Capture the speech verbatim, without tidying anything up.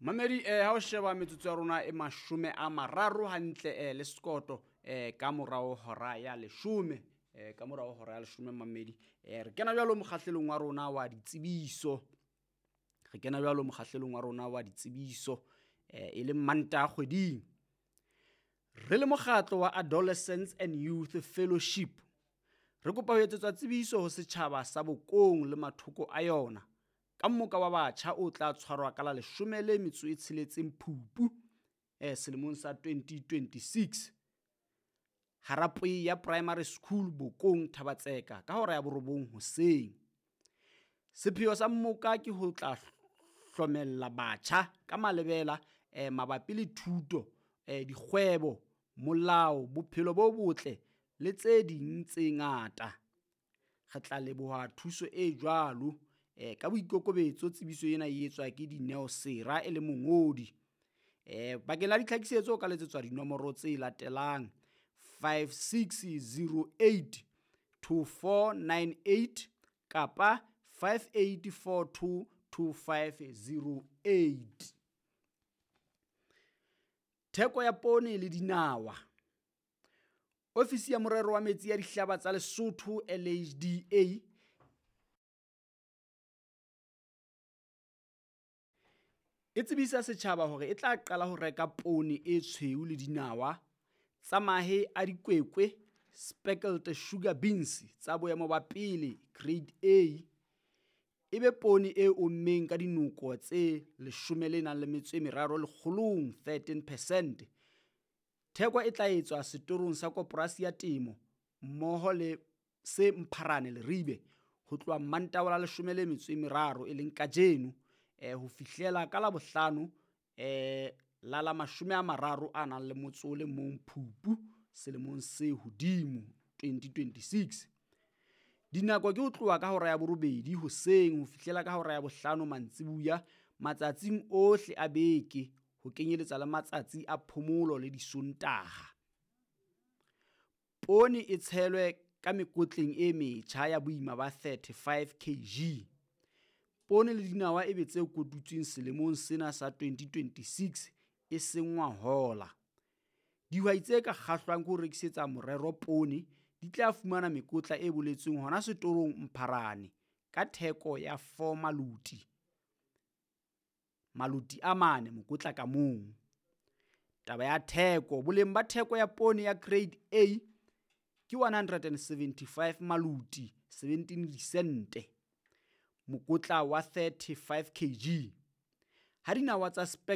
Mamedi, eh ha o sheba metsotso ya rona e mashome a mararo hantle eh le sekoto eh ka morao hora ya leshome, eh ka morao hora ya leshome mamedi, eh re kena jwalo mokgahlelong wa rona wa ditsebiso. Re kena jwalo mokgahlelong wa rona wa ditsebiso eh e leng Mantaha kgweding. Re le mokgatlo wa Adolescents and Youth Fellowship, re kopa ho etsetswa tsebiso ho setjhaba sa Bokong le mathoko a yona ka mmoka wa batjha o tla tshwarwa ka la leshome le metso e tsheletseng Phupu eh selemong sa twenty twenty-six Harapwe ya Primary School Bokong Thabatseka ka hora ya borobong hoseng. Sepheo sa mmoka ke ho tla hlomella batjha ka malebela eh mabapi le thuto, eh dikgwebo, molao, bophelo bo botle le tse ding tse ngata. Re tla leboha thuso e jwalo. Eh ka boikokobetso tsebiso ena e etswa ke Dineo Sera e le mongodi. Eh bakeng la ditlhakisetso o ka letsetswa dinomoro tse latelang five six zero eight two four nine eight kapa five eight four two two five zero eight. Theko ya poone le dinawa. Ofisi ya morero wa metsi ya dihlaba tsa Lesotho L H D A e tsebisa setjhaba hore e tla qala ho reka poone e tshweu le dinawa tsa mahe a dikwekwe speckled sugar beans tsa boemo ba pele grade A, e be poone e ommeng ka dinoko tse leshome le nang le metso e meraro lekgolong thirteen percent. Theko e tla etswa setorong sa koporasi ya temo mmoho le se Mpharane Leribe ho tloha Mantaha la leshome le metso e meraro e leng kajeno eh ho fihlela ka Labohlano eh la la mashome a mararo a nang le motso o le mong Phupu selemong se hodimo twenty twenty-six. Dinako ke ho tloha ka hora ya borobedi hoseng ho fihlela ka hora ya bohlano mantsibuya matsatsing ohle a beke ho kenyeletsa le matsatsi a phomolo le disontaha. Poone e tshelwe ka mekotleng e metjha ya boima ba thirty-five kilograms. Poone le dinawa e be tse kotutsweng selemong sena sa twenty twenty-six e seng ngwahola. Dihwai tse ka kgahlwang ke ho rekisetsa morero poone di tla fumana mekotla e boletsweng hona setorong Mpharane ka theko ya four maloti. Maloti a mane mokotla ka mong. Taba ya theko, boleng ba theko ya poone ya grade A ke one hundred and seventy-five maloti seventeen disente mokotla wa thirty-five kilograms. Ha dinawa tsa spec